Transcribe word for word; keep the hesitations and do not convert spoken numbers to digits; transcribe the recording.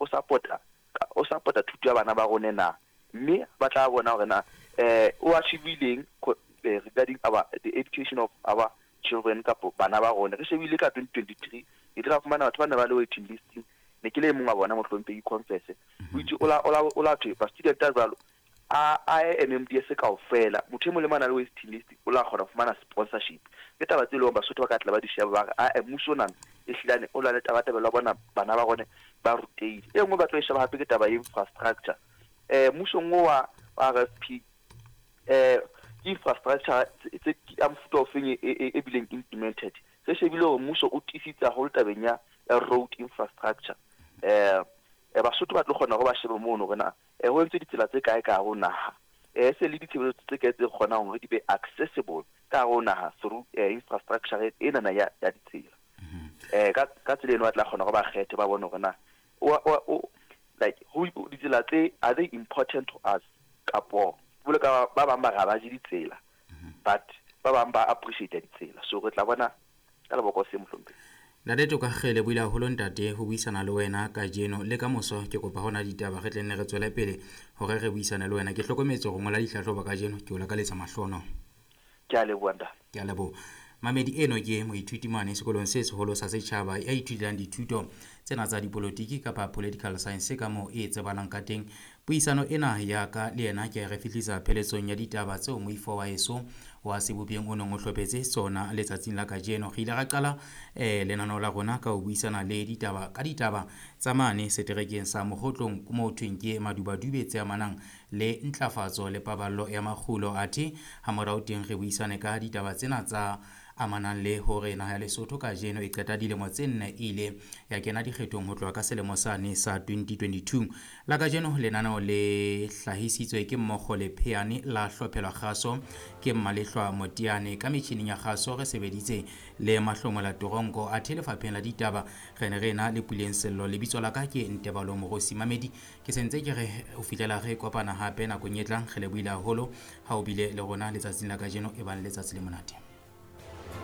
o support-a o support-a thuto ya bana ba rona na, mme ba tla bona hore na eh o achieve-ileng regarding our the education of our children kapo bana ba rona. Re shebile ka twenty twenty-three e tla fumana batho ba ne ba le waiting list, ne ke le mong wa bona mohlomphehi confess o itse o la o la thwe ba student a jwalo a a M M D S kaofela motho e mong le mang a le waiting list o la kgona ho fumana sponsorship. Ke taba tse leng Basotho ba ka tla ba di sheba ba re a mmuso nana e hlilane o la le taba taba la bona bana ba rona ba rutehile. E nngwe ba tlo e sheba hape ke taba ya infrastructure. Eh mmusong wa R F P eh infrastructure tse a mofuta o feng e bileng implemented. Re shebile hore mmuso o tiisitse haholo tabeng ya road infrastructure. Eh Basotho ba tlo kgona hore ba shebe mono hore na ho entswe ditsela tse kae ka hare ho naha, eh se le ditshebeletso tse kae tse kgonang hore di be accessible ka hare ho naha through infrastructure ena na ya ya ditsela. Eh ka ka tsela eno ba tla kgona hore ba kgethe ba bone hore na o like ho ditsela tse are they important to us kapo bole ka ba bang ba ga ba je ditsela but ba bang ba appreciate ditsela. So re tla bona ka leboko se mohlomphehi. Ntate Tokakgele buile haholo ntate ho buisana le wena kajeno le ka moso. Ke kopa hona ditaba re tle nne re tswele pele hore re buisane le wena. Ke hlokometse hore ngola dihlahlobo kajeno, ke o lakaletsa mahlono. Ke a leboha ntate. Ke a leboha. Mamedi eno ke moithuti mane sekolong se seholo sa setjhaba ya ithutelang dithuto tsena tsa dipolotiki kapa political science ka moo e tsebalang ka teng. Puisano ena ya ka le yena ke re fihlisa pheletsong ya ditaba tseo moifo wa heso wa Sebopeng o neng o hlophetse tsona letsatsing la kajeno. Re ile ra qala eh lenaneo la rona ka ho buisana le ditaba ka ditaba tsa mane seterekeng sa Mokgotlong moo thweng ke Madubadube tse amanang le ntlafatso le paballo ya makgulo. Athe ha morao teng re buisane ka ditaba tsena tsa amanang le hore naha ya Lesotho kajeno e qeta dilemo tse nne ile ya kena dikgethong ho tloha ka selemo sane sa twenty twenty-two. La kajeno lenaneo le hlahisitswe ke mmogo le Pheane la hlophelwa kgaso ke Mmalehlwa Motiane. Ka metjhining ya kgaso re sebeditse le Mahlomola Toronko. Athe lefapheng la ditaba re ne re ena le Puleng Sello. Lebitso la ka ke Ntebalo Morosi. Mamedi ke sentse ke re ho fihlela re kopana hape nakong e tlang. Re lebohile haholo ha o bile le rona letsatsing la kajeno. E bang letsatsi le monate.